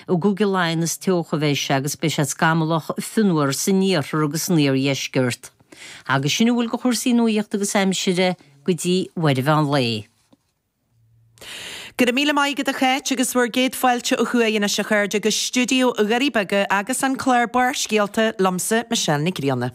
I gCúige Laighean is teocha a bheidh sé agus beidh sé scamallach fionnuar san iarthar agus san iardheisceart. Agus sin a bhfuil de chúrsaí nuaíochta agus aimsire go dtí uair an mheán lae. Go raibh míle maith agat a Cháit agus bhur gcéad fáilte ó thuaidh anois a chairde go stiúideo Dhoirí Beaga agus an clár Barrscéalta liomsa Michelle Nic Grianna.